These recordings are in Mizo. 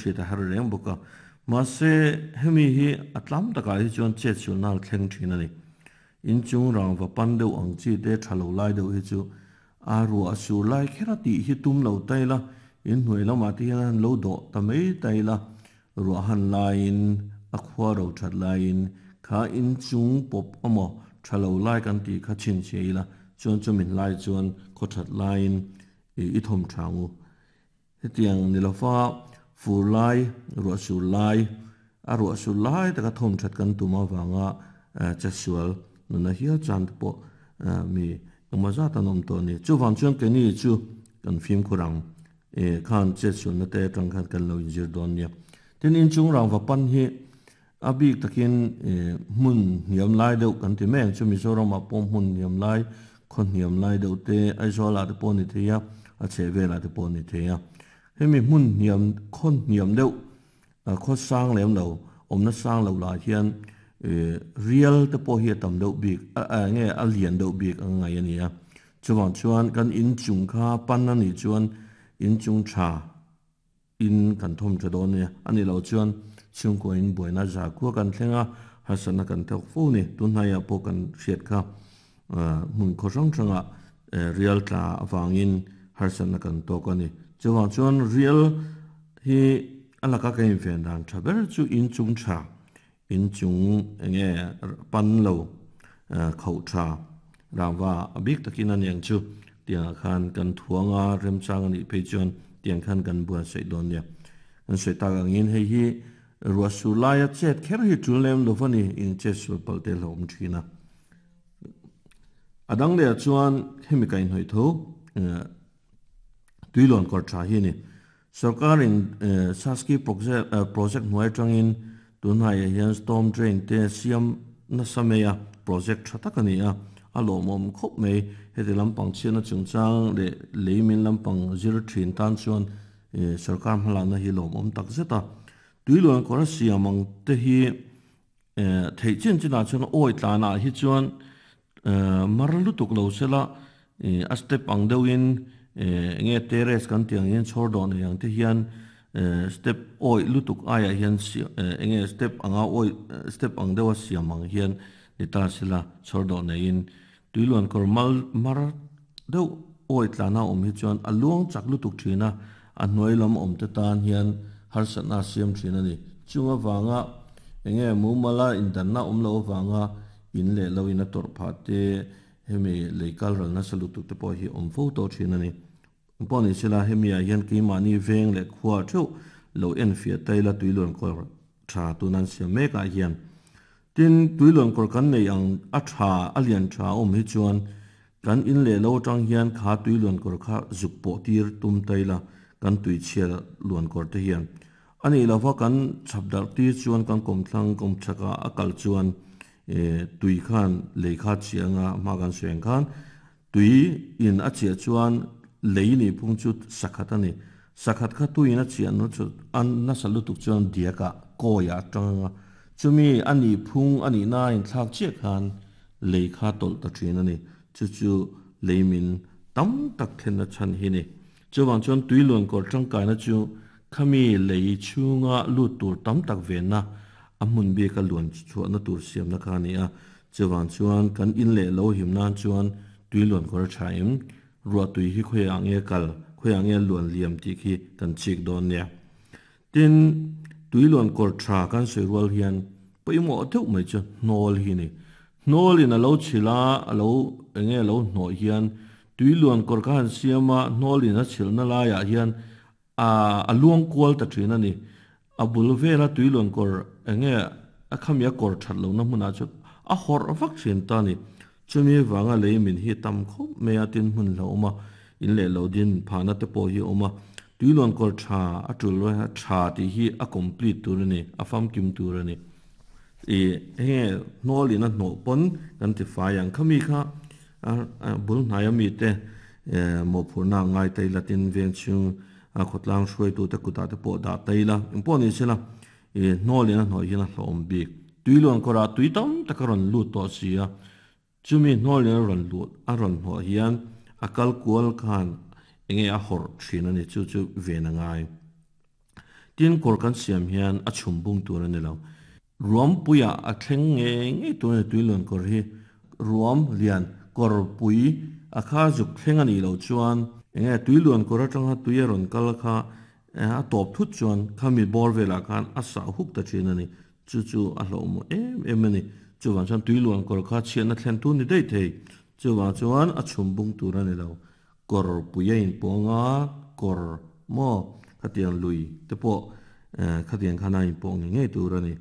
hriat a har reng bawk a. Mahse, hemi hi a tlam takah hi chuan chet sualna a thleng thin a ni. Inchung rangva pan deuh ang chi te tha lo lai deuh hi chu a ruah sur lai kher a tih hi tum lo ta ila, inhnuai lamah te hian a han lo dawh ta mai ta ila, ruah han laiin a khua ro that laiin kha inchung pawp amaw tha lo lai kan tih kha chhinchhiah ila chuan chumin lai chuan khaw that laiin i thawm tha ang u. Hetiang ni lova fur lai, ruah sur lai, a ruah sur lai taka thawm that kan tum avanga chetsual nuna hial chan te pawh mi engmaw zat an awm tawh a ni. Chuvang chuan keini chu kan fimkhur ang khan chetsualna te atang khan kan lo inzir dawn nia. Tin, inchung rangva pan hi a bik takin hmun hniam lai deuh kan ti mai ang chu Mizoramah pawh hmun hniam lai, khaw hniam lai deuh te Aizawlah te pawh a ni thei a, a chhehvelah te pawh a ni thei a. Hemi hmun hniam, khaw hniam deuh, khaw sang lem lo, awmna sang lo lah hian rial te pawh hi a tam deuh bik, enge a lian deuh bik ang ngai a ni a. Chuvang chuan kan inchung kha pan a nih chuan inchung tha, In kan thawm tha dawn nia. A nih loh chuan chhungkaw in buaina za khua kan thleng a, harsatna kan thawk fo ni. Tunhnaiah pawh kan hriat kha hmun khaw hrang hrangah rial tla avangin harsatna kan tawk a ni. Chuvang chuan rial hi a laka ka inven dan tha ber chu inchung tha, inchung enge pan lo khauh tha rangva a bik takin a niang chu tiangah khan kan thuang a, remchang a nih phei chuan tiang khan kan buatsaih dawn nia. Kan sawi tak angin hei hi ruah sur laia chet kher hi tul lem lo va ni, in chet sual palh te hlauhawm thin a. A dang lehah chuan hemi kaihhnawih tho tuilawn kawr tha hi a ni. Sorkarin Saski project hnuai atangin tunhaiah hian storm drain te siam nasa mai a, project tha tak a ni a, a lawmawm khawp mai. Heti lampang chhiatna chungchang leh lei min lampang zir thin tan chuan sorkar hmalakna hi lawmawm tak zet a. Tuiluan kawr a siam ang te hi theih chin chinah chuan awi tlanah hi chuan Mar lutuk lo sela a step ang deuhin enge terrace kan tih ang hian chhawr dawh nei ang te hian step awih lutuk aiah hian enge step anga awih step ang deuha siam ang hian ni ta sela chhawr dawh neiin tuiluan kawr mal mar deuh awih tlana awm hi chuan a luang chak lutuk thin a, a hnuai lam awm te tan hian harsatna a siam thin a ni. Chung avanga enge mumala indanna awm loh avanga In leh lo in a tawrh phah te, hemi lei kal ral nasa lutuk te pawh hi awm fo tawh thin a ni. Pawh ni sela hemi ah hian keimahni veng leh khua theuh lo enfiah ta ila tuiluan kawr tha tun an siam mek ah hian. Tin, tuiluan kawr kan neih ang a tha, a lian tha a awm hi chuan kan in leh lo atang hian kha tuiluan kawr kha zuk pawh tir tum ta ila kan tuichhia luan kawr te hian A nih lova kan chhap darh tir chuan kan kawmthlang kawmchhakah a kal chuan tui khan lei kha chiah anga hma kan sawi ang khan tui in a chiah chuan lei nih phung chu sakhat a ni. Sakhat kha tui in a chiah nu chu a nasa lutuk chuan diakah kawiah a tang anga chumi a nih phung a nih na a inthlak chiah khan lei kha tawlh ta thin a ni. Chu chu lei min tam tak thlenna chhan hi ni. Chuvang chuan tui luankawr tangkaina chu khami lei chhunga lut tur tam tak venna, a hmun bika luan chhuahna tur siamna kha a ni a. Chuvang chuan kan in leh lo him nan chuan tui luankawr a tha em? Ruah tui hi khawiah nge kal, khawiah nge luan liam tih khi kan chik dawn nia. Tin, tui luankawr tha kan sawi rual hian pawimawh deuh mai chu hnawl hi a ni. Hnawlin a lo chhilh a, a lo eng nge a lo hnawh hian tui luan kawr kha han siam a, hnawlin a chhilhna laiah hian a a luang kual ta thin a ni. A bul vela tui luan kawr eng nge a khami a kawr that lohna hmunah chuan a hawrh vak thin ta a ni. Chumi vanga lei min hi tam khawp mai a, tin hmun hlauh awm a, in leh lo din phahna te pawh hi a awm a. Tui luan kawr tha a tul a, tha tih hi a complete tur a ni, a famkim tur a ni. I henge hnawl in a hnawh pawn kan ti fai ang khami kha bul hnaia mite mawhphurhna a ngai ta ila tin veng chhung khawtlang hruaitu te kutah te pawh dah ta ila engpawh ni sela i hnawl in a hnawh hian a hlawhawm bik. Tuiluan kawrah tui tam tak a rawn lut tawh si a. Chumi hnuaiin a rawn lut a rawn hnawh hian a kal kual khan enge a hawrh thin a ni chu chu ven a ngai. Tin kawr kan siam hian a chhum bung tur a ni lo. Ruam puiah a thleng ngei ngei tur a ni tuiluan kawr hi. Ruam lian kawr pui a kha zuk thleng a nih loh chuan enge tuiluan kawr atanga tui a rawn kal kha a tawp thut chuan khami bawr velah khan a sah huk ta thin a ni. Chu chu a hlauhmawh em em a ni. Chuvang chuan tuiluan kawr kha chhiatna thlen tu ni daih thei. Chuvang chuan a chhum bung tur a ni lo. Kawr pui a inpawng a, kawr maw khatiang lui te pawh khatiang khan a inpawh ngei ngei tur a ni.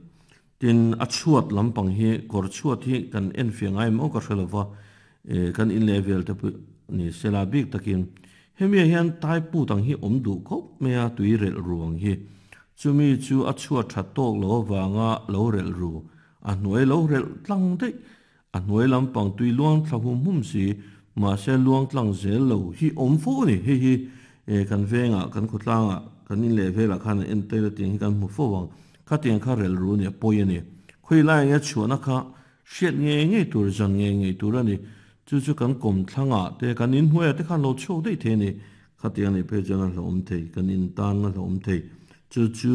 Tin, a chhuat lampang hi kawr chhuat hi kan enfiah ngai maw ka hre lo va, kan in leh vel te pawh ni sela bik takin hemiah hian tai put ang hi awm duh khawp mai a tui relh ru ang hi. Chumi chu a chhuat that tawk lo avanga lo relh ru, a hnuai lo relh tlang daih A hnuai lampang tui luang thla hum hum si, mahse luang tlang zel lo hi awm fo a ni. Hei hi kan vengah, kan khawtlangah, kan in leh velah khan an en tail a tiang hi kan hmu fo ang. Khatiang kha rel ru a ni, a pawi a ni. Khawi lai enge chhuahna kha hriat ngei ngei tur, zan ngei ngei tur a ni. Chu chu kan kawmthlangah te, kan inhnuaiah te khan lo chhuak daih thei a ni. Khatiang nih phei chuan a hlauhawm thei, kan in tan a hlauhawm thei. Chu chu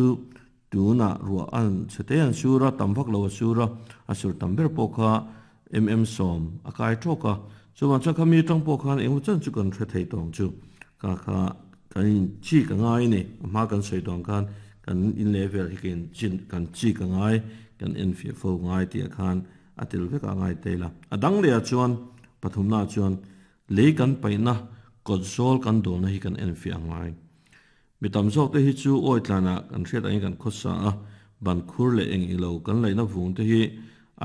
Tunah ruah an chhe te an sur a, tam vak lo a sur a, a sur tam ber pawh kha mm sawm a kai tawk a. Chuvang chuan kha mi atang pawh khan engemaw chan chu kan hre thei tawng chu kha kha kan in chik a ngai a ni. A hma kan sawi tawng khan kan in leh vel hi kan chin kan chik a ngai, kan enfiah fo ngai tih ah khan a tel vek a ngai tel a. A dang leh ah chuan pathumna ah chuan lei kan paihna kawt zawl kan dawlna hi kan enfiah a ngai. Mi tam zawk te hi chu awi tlanah kan hriat angin kan khawsa a, ban khur leh eng ilo kan laihna vung te hi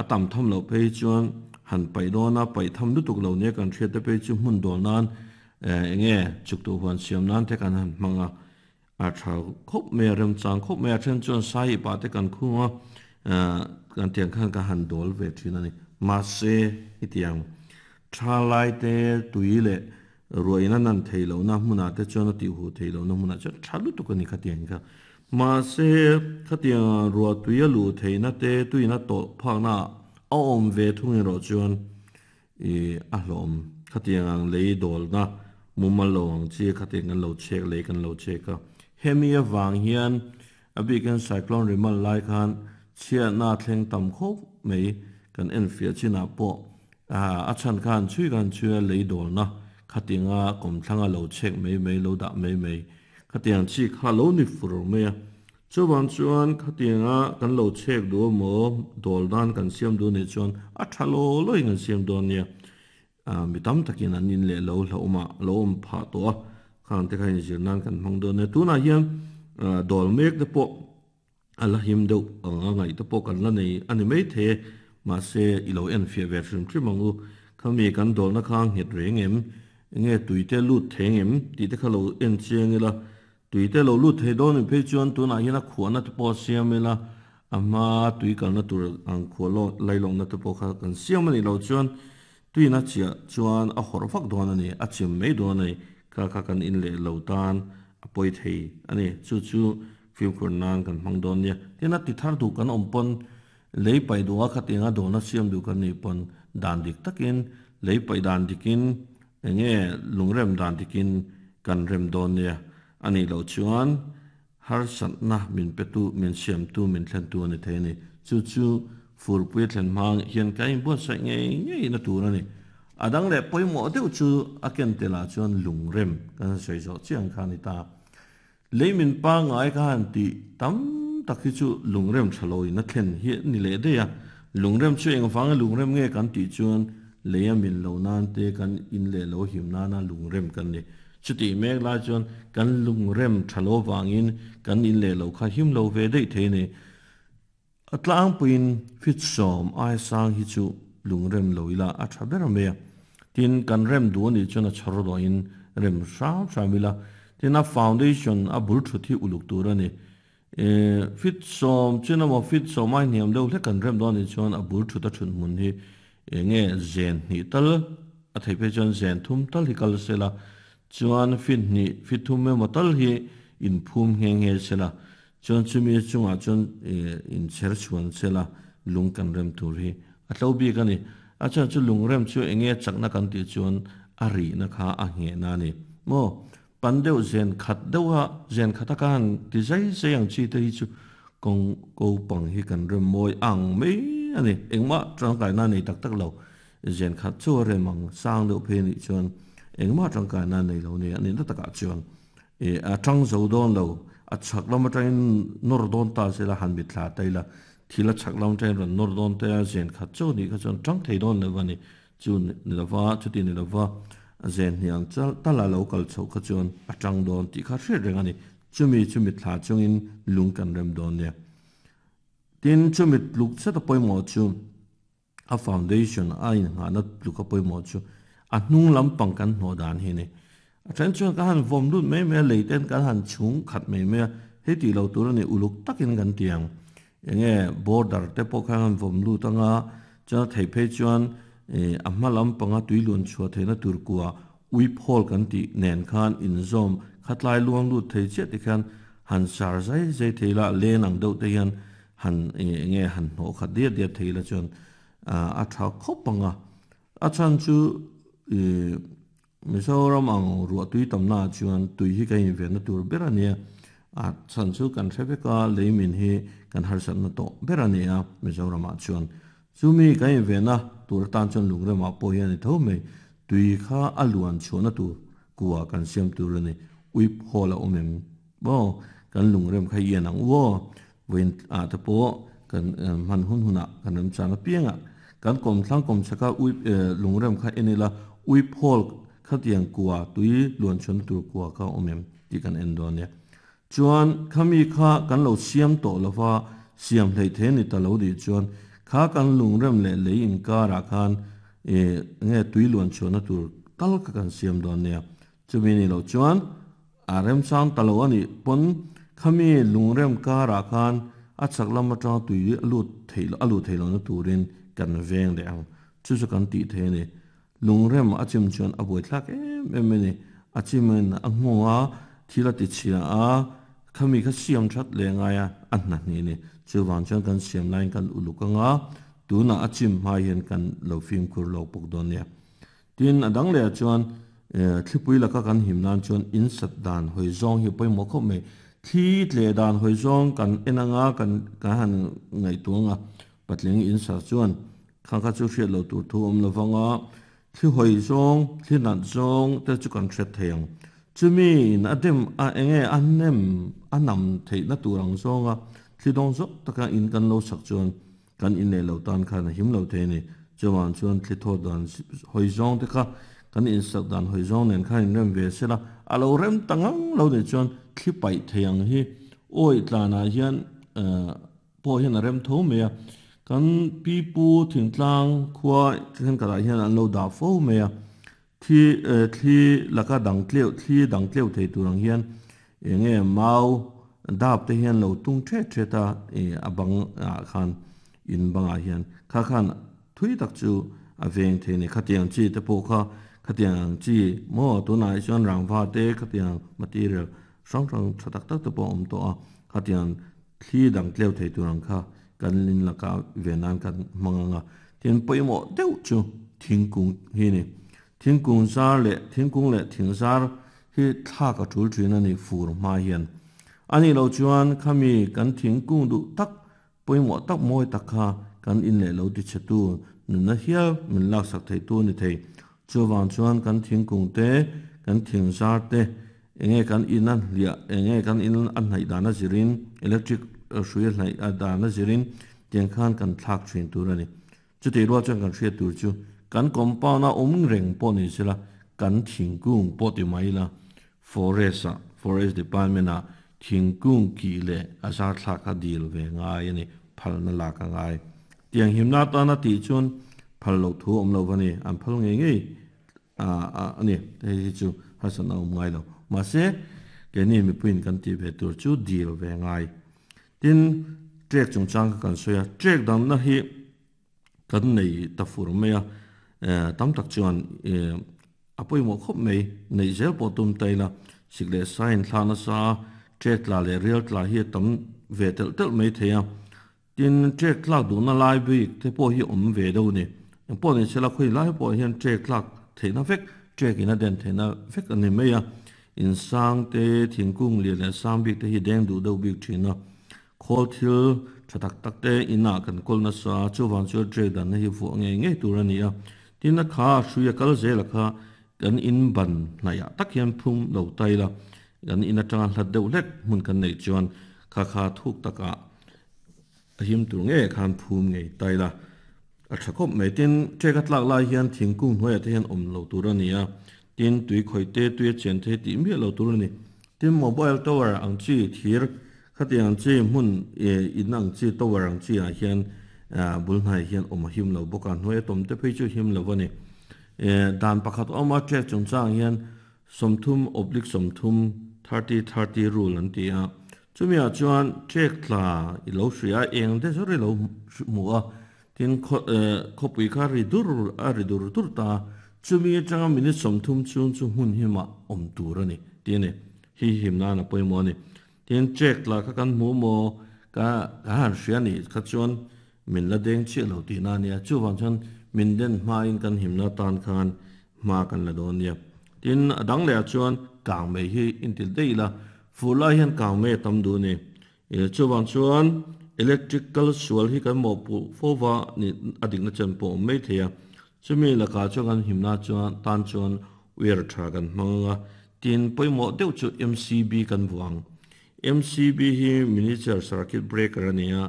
a tam tham loh phei chuan han paih dawn a, paih tham lutuk lo nia kan hriat te phei chu hmun dawl nan enge chuk tuh huan siam nan te kan han hmang a, a tha khawp mai a, remchang khawp mai a, then chuan sai ipah te kan khung a, kan tiang khan ka han dawl ve thin a ni. Mahse, hetiang thalai te tui leh Ruahin a nan thei lohna hmunah te chuan a tihhuh thei lohna hmunah chuan tha lutuk a ni khatiang kha. Mahse, khatianga ruah tui a luh theihna te tuiin a tawlh phakna ah a awm ve thung erawh chuan ih a hlawm. Khatiang ang lei dawlna mumal lo ang chi khatiang kan lo chhek lei kan lo chhek a. Hemi avang hian a bikin cyclone rimal lai khan chhiatna thleng tam khawp mai kan enfiah chinah pawh A chhan khan chhui khan chhui a lei dawlna khatinga kawmthlanga lo chhek mai mai lo dah mai mai khatiang chi kha lo ni fur mai a. Chuvang chuan khatinga kan lo chhek duh emaw dawl dan kan siam duh nih chuan a tha law lawin kan siam dawn nia. Mi tam takin an in leh lo hlauhawmah lo awm phah tawh a, khang te kha inzir nan kan hmang dawn nia. Tunah hian dawl mek te pawh A la him deuh ang a ngaih te pawh kan la nei a ni maithei e, mahse i lo en fiah ve hrim hrim ang u. Khami kan dawlna kha nghet reng em? Enge tui te lut thei ang em? tih te kha lo en chiang ila, tui te lo lut thei dawn in phei chuan tunah hian a khuahna te pawh a siam ila, a hma tui kalna tur ang khuah lawk lailawkna te pawh kha kan siam a nih loh chuan tuina chiah chuan a hawrh vak dawn a ni, a chim mai dawn a ni, kha kha kan in leh lo tan a pawi thei a ni. Chu chu Fimkhur nan kan hmang dawn nia. Tin a ti thar duh kan awm pawn lei paih duh a khatianga dawlna siam duh kan nih pawn dan dik takin lei paih dan dikin enge lungrem dan dikin kan rem dawn nia. A nih loh chuan harsatna min petu min siamtu min thlentu a ni thei a ni. Chu chu furpui a thlen hma hian kan inbuatsaih ngei ngei na tur a ni. A dang leh pawimawh deuh chu a ken telah chuan lungrem kan sawi zawh chiah ang kha a ni ta. Lei min pangngai ka han tih tam tak hi chu lungrem tha lo in a thlen hi a ni leh daih a. Lungrem chu engvanga lungrem nge kan tih chuan lei a min lo nan te kan in leh lo him nana lungrem kan ni. Chutih mek lai chuan kan lungrem tha lo vangin kan in leh lo kha him lo ve daih thei a ni. A tlangpuiin fit sawm ai sang hi chu lungrem lo ila a tha ber mai a. Tin, kan rem duh a nih chuan a chhawr dawhin rem hram hram ila. Tin, a foundation a bul thut hi uluk tur a ni. Fit sawm chin emaw fit sawm ai hniam deuh hlek kan rem dawn a nih chuan a bul thut a thut hmun hi eng nge zen hnih tal a theih phei chuan zen thum tal hi kal sela chuan fit hnih fit thum emaw tal hi inphum nghe nghe sela. Chuan chumi chungah chuan inchher chhuan sela lung kan rem tur hi a tlo bik a ni. A chhan chu lung rem chu enge chakna kan tih chuan a rihna kha a nghehna a ni maw? Pan deuh zen khat deuha zen khata ka han ti zai zai ang chi te hi chu kawng ko pang hi kan rem mawi ang mai a ni. Engmah tangkaina nei tak tak lo zen khat chu a rem ang sang deuh phei anih chuan engmah tangkaina nei lo nia a nihna takah chuan e a tang zo dawn lo a chhak lam atangin nawr dawn ta sela han mitthla ta ila thil a chhak lam atangin rawn nawr dawn ta a zen khat chu anih kha chuan tang thei dawn lo a ni. Chu ni lova, chuti ni lova zen hniang chal tal a lo kal chhoh kha chuan a tang dawn tih kha hriat reng a ni. Chumi chu mitthla chungin lung kan rem dawn nia. Tin, chumi tluk zet a pawimawh chu a foundation a inngahna tluk a pawimawh chu a hnung lampang kan hnawh dan hi a ni. A then chuan kan han vawm lut mai mai a, lei ten kan han chhung khat mai mai a, hei tih lo tur a ni, uluk takin kan ti ang. Enge border te pawh khan han vawm lut anga, chuan a theih phei chuan a hma lampanga tui luan chhuah theihna tur kua ui phawl kan tih nen khan inzawm khatlai luang lut thei chiah te khian han sar zai zai thei la, len ang deuh te hian han enge han hnawh khat diat diat thei la chuan a tha khawp ang a. A chhan chu Mizoram ang ruah tui tamna ah chuan tui hi kan invenna tur ber a nia. A chhan chu kan hre vek a, leimin hi kan harsatna tawh ber a ni a Mizoram ah chuan. Chumi kan invenna tur atan chuan lungremah pawh hian a ni tho mai. Tui kha a luan chhuahna tur kua kan siam tur a ni. Uip hawl a awm em maw? Kan lungrem kha ian ang u aw. Vawiin ah te pawh kan hman hun hunah kan remchang apiangah kan kawmthlang kawmchhaka uip lungrem kha en ila uip hawl khatiang kua tui luanchhuahna tur kua kha a awm em tih kan en dawn nia. Chuan khami kha kan lo siam tawh lova siam hleih thei a ni ta lo tih chuan kha kan lungrem leh lei inkarah khan nge tui luanchhuahna tur tal kha kan siam dawn nia. Chumi ni loh chuan a remchang ta lo a nih pawn khami lungrem karah khan a chak lam atanga tui a lut theih a luh theih lohna turin kan veng leh ang. Chu chu kan tih thei a ni. Lungrem a chim chuan a buaithlak em em a ni. A chimin a nghawng a, thil a ti chhia a, khami kha siam that leh ngai a, a hna hnih a ni. Chuvang chuan kan siam laiin kan uluk ang a, tunah a chim hma hian kan lo fimkhur lawk bawk dawn nia. Tin, a dang lehah chuan thlipui laka kan him nan chuan in sat dan hawi zawng hi a pawimawh khawp mai. Thli tleh dan hawi zawng kan en anga kan kan han ngaihtuah anga patling in sat chuan kha kha chu hriat loh tur thu awm lo vang a, thli hawi zawng, thli nat zawng te chu kan hriat thei ang. Chumi in a dem a enge a nem a nam theihna tur ang zawnga thli dawng zawk taka in kan lo sak chuan Kan inneih loh tan khan a him lo thei a ni. Chuvang chuan thli thawt dan hawi zawng te kha kan insak dan hawi zawng nen khan inrem ve se la, a lo rem ta ngang lo nih chuan thli paih thei ang hi awi tlanah hian pawh hian a rem tho mai a. Kan pipu thingtlang khua thenkhatah hian an lo dah fo mai a. Thli thli laka dang tleuh thli dang tleuh thei tur ang hian eng nge mau dap te hian lo tung thet thet a ih a bang ah khan in bangah hian kha khan thui tak chu a veng thei a ni. Khatiang chi te pawh kha khatiang ang chi maw tunah hi chuan rangva te khatiang material hrang hrang tha tak tak te pawh a awm tawh a khatiang thli dang tleuh thei tur ang kha kan in laka ve nan kan hmang ang a, tin pawimawh deuh chu thingkung hi a ni. Thingkung zar leh thingkung leh thing zar hi thlak a tul thin a ni fur hma hian. A nih loh chuan khami kan thingkung duh tak pawimawh tak mawi tak kha kan in leh lo ti chhe tu nunna hial min laksak thei tu a ni thei. Chuvang chuan kan thingkung te, kan thing zar te, Enge kan in a hliah, enge kan in a hnaih dan a zirin, electric hrui a hnaih dan a zirin tiang khan kan thlak thin tur a ni. Chutih rual chuan kan hriat tur chu kan compound a awm reng pawh ni sela kan thingkung pawh ti mai ila forest ah, forest department ah thingkung kih leh a zar thlak kha dil ve ngai a ni, phalna lak a ngai. Tiang himna atana tih chuan phal loh thu awm lo va ni, an phal ngei ngei. A ni, hei hi chu harsatna a awm ngai lo. Mahse, keini mipuiin kan tih ve tur chu dil ve ngai. Tin, trek chungchang kha kan sawi a, trek damna hi kan nei ta fur mai a, tam tak chuan a pawimawh khawp mai, neih zel pawh tum ta ila, sik leh sa inthla nasa a, trek tla leh rial tla hi a tam ve telh telh mai thei a. Tin, trek tlak duhna lai bik te pawh hi awm ve deuh a ni. Eng pawh ni sela khawi lai pawh hian trek tlak theihna vek, trek in a den theihna vek a ni mai a. In sang te, thingkung lian leh sang bik te hi deng duh deuh bik thin a. Khawl thil tha tak tak te inah kan kawl nasa a, chuvang chuan trek danna hi vuah ngei ngei tur a ni a. Tin a kha hrui a kal zel a kha kan in ban hnaihah tak hian phum lo tai la, kan in atanga hlat deuh hlek hmun kan neih chuan kha kha thuk takah a him tur ngei khan phum ngei tai la a tha khawp mai. Tin, trek a tlak lai hian thingkung hnuaiah te hian awm lo tur a ni a, tin tui khawih te, tui a chen thei tih miah lo tur a ni. Tin, mobile tower ang chi thir khatiang ang chi hmun in ang chi tower ang chi ah hian bul hnaiah hian awm a him lo bawk a, hnuai a tawm te phei chu him lo a ni. Dan pakhat awm a trek chungchang hian 30 oblique 30, 30 30 rule an ti a, Chumi ah chuan trek tla i lo hria a, eng te zawr i lo hmu a, tin khawpui kha ri dur a ri dur dur ta a, chumi atanga minute 30 chhung chu hmun himah awm tur a ni tih a ni. Hi him nan a pawimawh a ni. Tin trek tla kha kan hmu maw ka kan han hria nih kha chuan min la deng chiah lo tihna a nia, chuvang chuan min den hmain kan himna tan khan hma kan la dawn nia. Tin a dang leh ah chuan kang mai hi intil daih ila, Fur lai hian kang mai a tam duh a ni. Chuvang chuan electric kal sual hi kan mawhpuh fo va ni a dikna chen pawh a awm mai thei a. Chumi lakah chuan kan himna chuan tan chuan wire tha kan hmang ang a, tin pawimawh deuh chu MCB kan vuah ang. MCB hi miniature circuit breaker a ni a,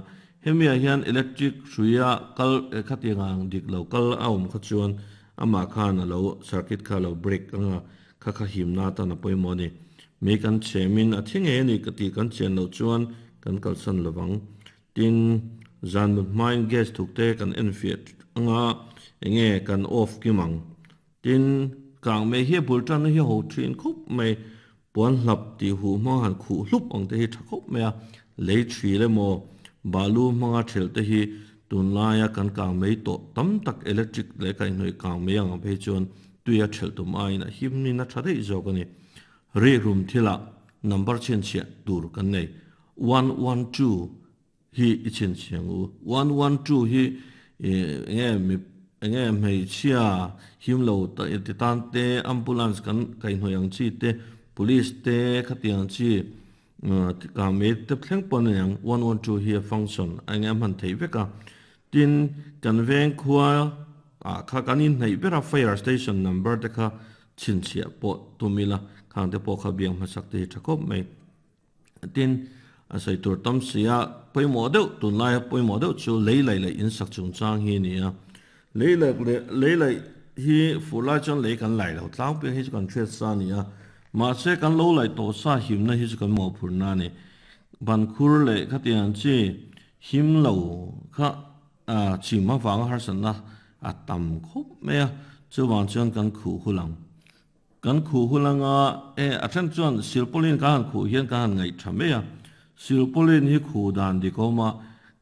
hemi ah hian electric hruia kal khatiang ang dik lo kal a awm kha chuan amah khan a lo circuit kha a lo break ang a, Kha kha himna atan a pawimawh a ni. Mei kan chhemin a thi ngei a ni ka tih kan chian loh chuan kan kalsan lovang. Tin, zan mut hmain gas thuk te kan enfiah anga enge kan off kim ang. Tin, kang mei hi a bul tanna hi a ho thin khawp mai. Puan hlap tih huh hmanga han khuh hlup ang te hi tha khawp mai a. Lei thil emaw balu hmanga thelh te hi tunlaia kan kang mei tawh tam tak electric leh kaihhnawih kang mei ang phei chuan Tui a ṭhelh tum aiin a himnin a ṭha daih zawk a ni. Rihrum thilah number chhinchhiah tur kan nei. 112 hi i chhinchhiah ang u. 112 hi enge mi enge hmeichhia him lo ti tan te, ambulance kan kaihhnawih ang chi te, police te khatiang ang chi kangmei te thleng pawh a ni ang. 112 hi a function a enge a hman theih vek a. Tin, kan veng khua ah kha kan inhnaih ber a, fire station number te kha chhinchhiah pawh tum ila, khang te pawh kha biang hmasak te hi tha khawp mai. Tin, a sawi tur tam si a, pawimawh deuh, tunlaia pawimawh deuh chu lei laih leh insak chungchang hi a ni a. Lei laih leh lei laih hi fur lai chuan lei kan laih lo tlangpui ang hi chu kan hriat sa a ni a, mahse kan lo laih tawh sa himna hi chu kan mawhphurhna a ni. Bankhur leh khatiang chi Him lo kha chim avanga harsatna a tam khawp mai a, chuvang chuan kan khuh hul ang. Kan khuh hul anga e a then chuan silpaulin kan han khuh hian kan han ngaih tha mai a, silpaulin hi khuh dan dik awm a,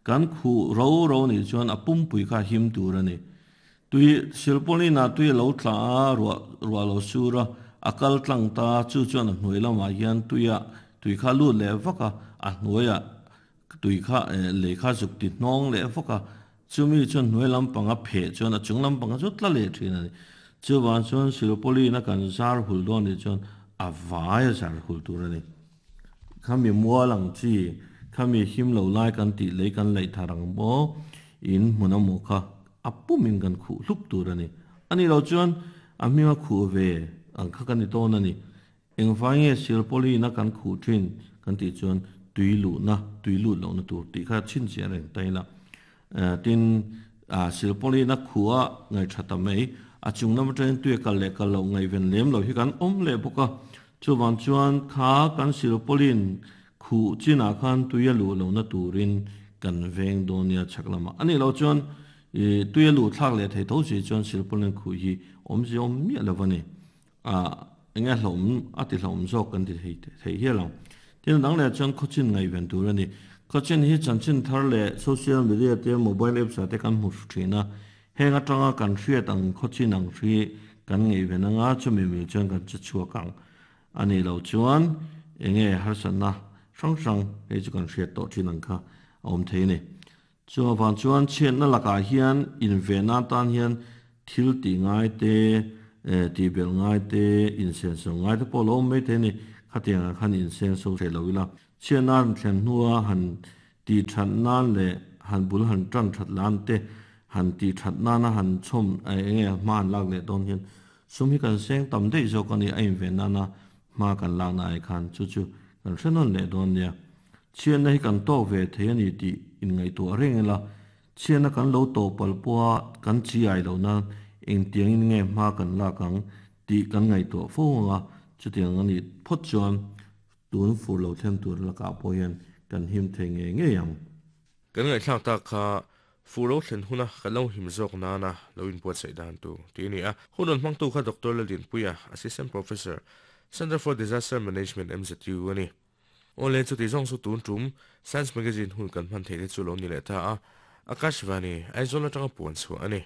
kan khuh ro ro nih chuan a pumpui kha him tur a ni. Tui silpaulin ah tui a lo tla a, ruah ruah lo sur a, a kal tlang ta, chu chuan a hnuai lamah hian tuia tui kha lut leh vak a, a hnuaiah Tui kha lei kha zuk ti hnawng leh vawk a, chumi chuan hnuai lampanga pheh chuan a chung lampanga chu tla leh thin a ni. Chuvang chuan Silpaulin a kan zar hul dawn nih chuan a vai a zar hul tur a ni. Khami mual ang chi, khami him lo lai kan tih lei kan laih thar ang maw, in hmun a maw kha a pumin kan khuh hlup tur a ni. A nih loh chuan a hminga khuh ve ang kha kan ni tawn a ni. Engvai nge Silpaulin a kan khuh thin kan tih chuan tui luhna, tui lut lohna tur tih kha chhinchhiah reng ta ila. Tin, Silpaulin a khuh a ngaihṭha ta mai, a chung lam atangin tui a kal leh kal loh ngaihven lem lo hi kan awm leh bawk a. Chuvang chuan kha kan Silpaulin khuh chinah khan tui a luh lohna turin kan veng dawn nia chhak lamah. A nih loh chuan tui a luh thlak leh thei tho si chuan Silpaulin khuh hi awmzia awm miah lo a ni. Ah, enge hlauhawm a ti hlauhawm zawk kan ti thei thei hial ang. Tin, dang leh chuan khawchin ngaihven tur a ni. Khawchin hi chanchin thar leh social media te, mobile apps ah te kan hmu thin a. Heng atanga kan hriat ang khawchin ang hri kan ngaihven anga chumi mil chuan kan che chhuak ang. A nih loh chuan enge harsatna hrang hrang hei chu kan hriat tawh thin ang kha a awm thei a ni. Chuvang chuan chhiatna lakah hian invenna atan hian thil tih ngai te, Tih belh ngai te, insenso ngai te pawh a lo awm mai thei a ni. Khatiangah khan insenso hreh lo ila. Chhiatna an thlen hnua han tih that nan leh han bul han tan that lan te, han tih that nana han chhawm eng nge hma han lak leh dawn hian sum hi kan seng tam daih zawk a ni. A inven nana hma kan lakna ai khan chu chu kan hre nawn leh dawn nia. Chhiatna hi kan tawk ve thei a ni tih inngaihtuah reng ila. Chhiatna kan lo tawh palh pawha kan chi ai loh nan engtiangin nge hma kan lak ang tih kan ngaihtuah fo ang a, chutiang a nih phawt chuan tun fur lo thleng tur lakah pawh hian kan him thei ngei ngei ang. Kan ngaihthlak tak kha fur lo thlen huna kan lo him zawk nana lo inbuatsaih dan tur tih a ni a. Hun rawn hmangtu kha Doctor Laldinpuia, Assistant Professor, Centre for Disaster Management, MZU a ni. Awle, chuti zawng chu tun tum Science Magazine hun kan hman theih te chu lo ni leh ta a, Akashvani, Aizawl atanga puan chhuah a ni.